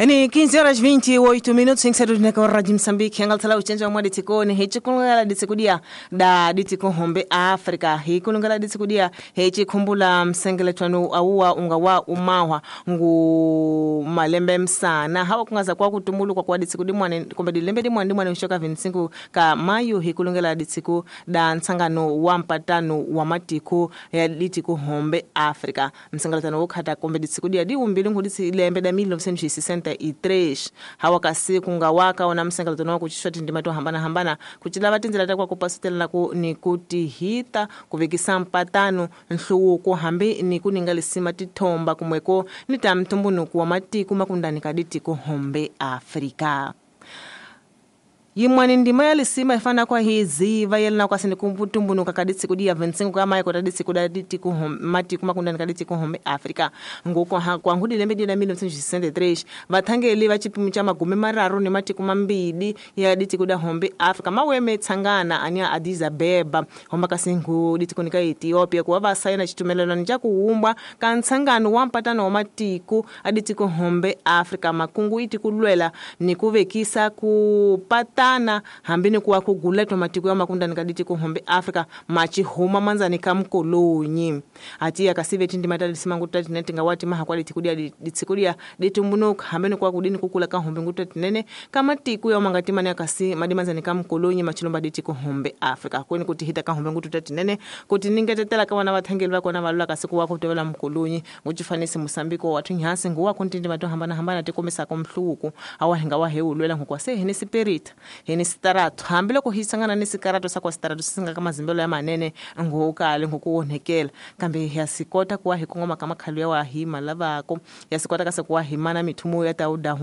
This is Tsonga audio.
Ni 15 horas 28 minutos em que na Rádio Moçambique angalthala uchenja mwa ditsikoni hichikulungala ditsikudia da ditikuhombe Afrika hikulungala ditsikudia hichikhumbula msengeletwanu awuwa unga wa umahwa ngu malembe msana hawa kungaza kwa kutumbulukwa kwa ditsikudi mwane kumbe dilembe dimwane dimwane ushoka 25 ka mayu hikulungela ditsiku da ntsangano wa mpatano wa matiko ya ditikuhombe Afrika msengeletwanu wokhata kumbe ditsikudia diumbili ngu lembe da 1963 hawa kasi kungawaka ona msengeletwanu wa kuchishwa tindima to hambana hambana kuchilava tindzela ta kwa kupasutelela ku ni kutihita kuvekisa mpatano nhluvuko hambi ni kuninga lisima tithomba kumweko ni ta mtumbunuku wa matiko makundani ka ditiko hombe Afrika. Yimwani ndima ya lisima ifana kwa hiziva yelina kwa sini kumputumbunuka kaditsi ya 25 kama yako taditsi kuda ditiku matiku makundani kaditsi kuhombe Afrika nguko kwa ngudi lembe dina 1963 vathangeli va chipimu cha magume mararu ni matiku mambili ya ditsi kuda hombe Afrika maweme tsangana ania Addis Abeba homba kasingu ditsi kunika Ethiopia kuwa vasayina chitumelelano cha kuumbwa ka ntsangano wa mpatano wa matiku aditsi kuhombe Afrika makungu iti kulwela ni kuvekisa kupata tana hambi ni kuwa kuguletwa matiko ya makundani kaditi kuhombe Afrika machihuma manzani kamkolonyi ati akasive tindi matalisima nguta tinene ngawati maha kwa ditikudia ditsikudia ditumbunuka hambi ni kuwa kudini kukula kahombe nguta tinene kama tiku ya mangati mane akasi madimanzani kamkolonyi machilomba diti kuhombe Afrika kweni kuti hita kahombe nguta tinene kuti ningetetela kawana vathangeli vakona valula kasi kuwa kutovela mkolonyi nguchifanisi Mosambiko watu nyasi nguwa kuntindi mato hambana hambana tikomesa komhluku awahinga waheulwela ngukwa sehene spirit heni sitaratu hambi loko hi sangana ni sikarato sa kwa sitaratu singa ka mazimbelo ya manene ngokale ngokuonhekela kambe ya sikota kuwa hi kongoma ka makhalo ya wa hi malavako ya sikota ka se kuwa hi mana mithumo ya ta uda.